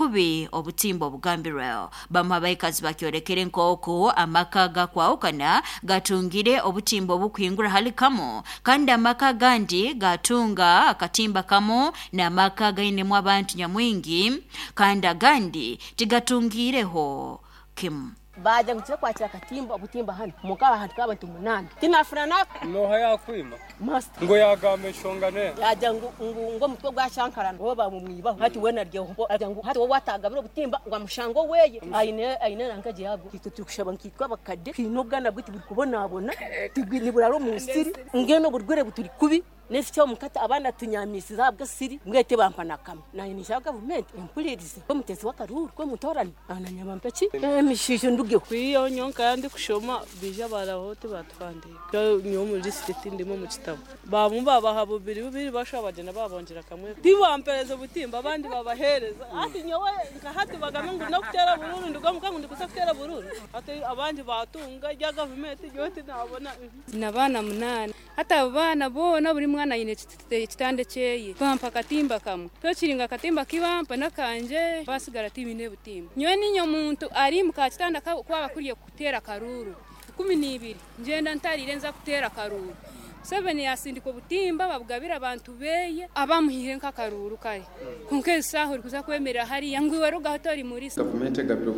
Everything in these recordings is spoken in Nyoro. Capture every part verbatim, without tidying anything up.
Kubi obutimba obugambirweho. Bamu abaikazi bakyolekere nk'oku amaka gakwahukana gatungire obutimba obukuhingura hali kamu, kandi amaka agandi gatunga akatimba kamu n'amaka gainemu abantu nyamwingi, kandi agandi tigatungireho kimu. Baja ngu kwakira akatimba obutimba hano mukaba hantu k'abantu munaana tinafuna naka. Noha yakwima? Master. Ngo yagamba enshonga ne yaja ngu ngu ngo omutwe gwa shankarana bo bamumwibaho hati wena ryeho aja ngu hati wowe watagabira obutimba ngo amushango weye aine aine nankaje yago. Kitwe turi nkitwa abakade twine obwana bwitu buri kubonabona niburara omu nsiri ngeno oburwere buturi kubi nesikyo mukata abaana tunyamisiza habwa siri mwete bampana kamwe naye nishaka gavumenti empulirize omutezi w'akaruru kwemutorani ananyama mpeki emishisho ndugeho. Kwiyo nyonka ndi kushoma bija baraho tibatuhandika nyo mu list ndimo mu kitabo bamu babaha bubiri bubiri basha bagenda babongera kamwe tibampereza obutimba abandi babahereza ati nyowe nka hati bagame ngu no kutera bururu nduga mukangu ndikusa kutera bururu ati abandi batunga ya gavumenti yote nabona. Nabana munana hata abana bona buri mwana yine kitande kyeye bampa katimba kamwe tokiringa katimba kibampa nakanje basigara tibine butimba nyowe ninyo muntu ari mu kakitanda kwaba kuriye kutera karuru kumi n'ibiri ngenda ntarire nza kutera karuru. Museveni yasindika obutimba babugabira abantu beye abamuhire nk'akaruru kare konka esaha ori kuza kwemerera hariya ngu iwe rugaho tori muri gavumenti egabira.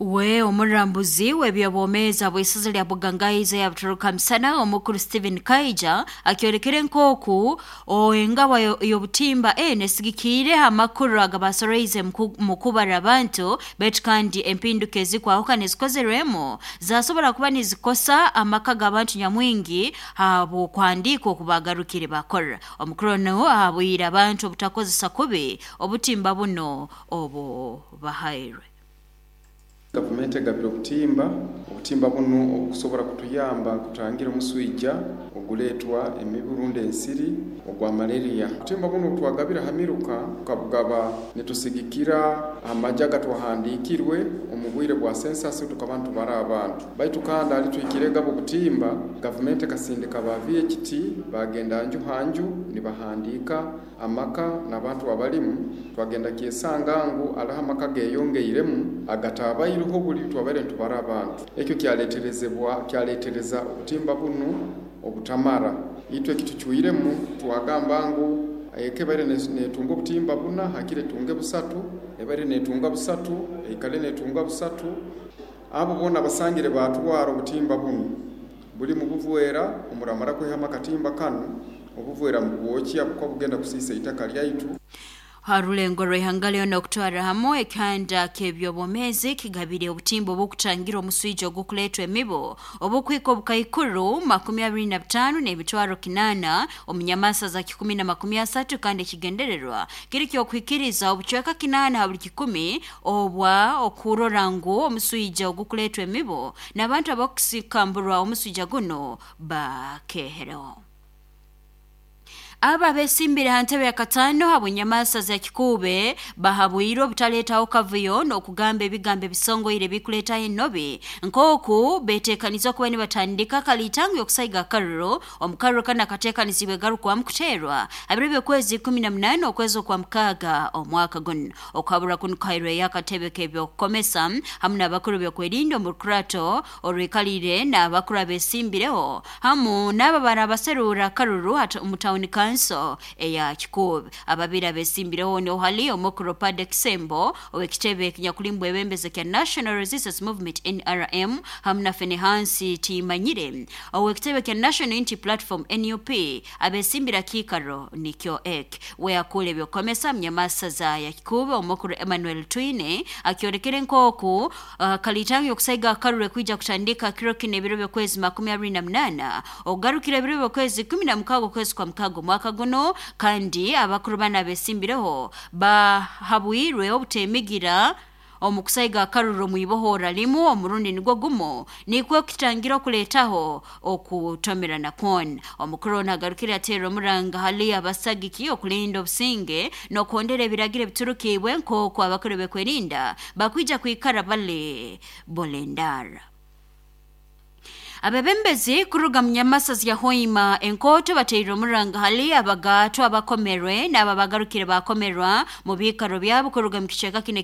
We omurambuzi w'ebyobwomeezi bw'isaza lya Bugangaiza ya Butoroka Msana omukuru Stephen Kaija akyolekere nk'oku engaba y'obutimba eno esigikiire amakuru agabasoreize mu kubara abantu baitu kandi empinduka ezikwahukana ezikozerwemu zasobora kuba nizikosa amaka g'abantu nyamwingi habw'okuhandiika okubagarukire bakora. Omukuru ono ahabwire abantu obutakozesa kubi obutimba buno obu bahairwe. Gavumenti egabira obutimba obutimba bunu obukusobora kutuyamba kutangira omuswija oguleetwa emibu rundi ensiri ogwa malaria. Obutimba bunu twagabira hamiruka tukabugaba nitusigikira amaja gatwahandikirwe omu bwire bwa census tukaba ntubara abantu baitu kandi ali twikirega obutimba gavumenti ekasindika ba V H T bagenda nju hanju nibahandika amaka n'abantu abalimu. Twagenda kyesanga ngu alaha amaka geyongeiremu agatabairiho buli twabere ntubara abantu. Ekyo kyaleterezebwa kyaletereza obutimba bunu obutamara. Itwe kituchuiremu twagamba ngu ekebere netunga obutimba buna hakire tunge busatu ebere netunga busatu ekale netunga busatu. Abo bona basangire batwara obutimba bunu buli mu buvwera omuramara kwehama katimba kanu obuvwera mu bwokya kuko bugenda kusisa itaka lyaitu. Harulengo rw'ihanga lyona okutwara hamwe ekihanda ky'ebyobwomeezi kigabire obutimba obukutangira omuswija ogukuleetwa emibu obukwika obukaikuru makumi abiri na butaano n'emitwaro kinaana omu nyamasa za kikumi na makumi asatu, kandi ekigendererwa kiri ky'okuhikiriza obucweka kinaana ha buli kikumi obwa okurora ngu omuswija ogukuleetwa emibu n'abantu abakusikamburwa omuswija guno bakehereho. Aba besimbire ha ntebe ya katano habw'enyamasa za Kikuube bahabwirwe obutaletaho kavuyo n'okugamba ebigambo ebisongoire ebikuleetaho enobi nk'oku beteekaniza okuba nibatandika kalitango y'okusaiga akaruru. Omukaruru kanu akateekanizibwe garukwamu kuteerwa abiro by'okwezi ikumi na munaana okwezi okwa mukaaga omwaka guno. Okuhabura kunu kuhairweyo akatebe k'ebyokukomesa hamu n'abakuru b'okwerinda omu rukurato orwikalire n'abakuru abesimbireho hamu n'abo barabaseruura akaruru omu tawuni kanso eya Kikuube. Ababiri abesimbireho niho hali omukuru Pade Kisembo ow'ekitebe ekinyakulimbwa ebembeze kya National Resistance Movement N R M hamu na Fenehansi Timanyire ow'ekitebe kya National Unity Platform N U P. Abesimbira kiikaro nikyo ek weyakula ebyokukomesa munyamasaza ya Kikuube omukuru Emmanuel Twine akyolekere nk'oku uh, kalitango y'okusaiga akaruru kwija kutandika kiro kino ebiro by'okwezi makumi abiri na munaana ogarukira ebiro by'okwezi kumi na mukaaga okwezi kwa mukaaga omwaka guno, kandi abakuru bana abesimbireho bahabwirwe obutemigira omu kusaiga akaruru mwibohora limu omurundi nigwo gumu nikwo kitangira okuleetaho okutomerana kwona. Omukuru ono agarukire ateera omuranga hali abasagiki okulinda obusinge n'okuhondera ebiragiro ebiturukiibwe nk'oku abakuru bekwerinda bakwija kwikara bali bolendara. Abebembezi kuruga munyamasa ya Hoima enkoto bateire omuranga hali abagato abakomerwe n'ababagarukire bakomerwa mu biikaro byabo kuruga mu kicweka kino.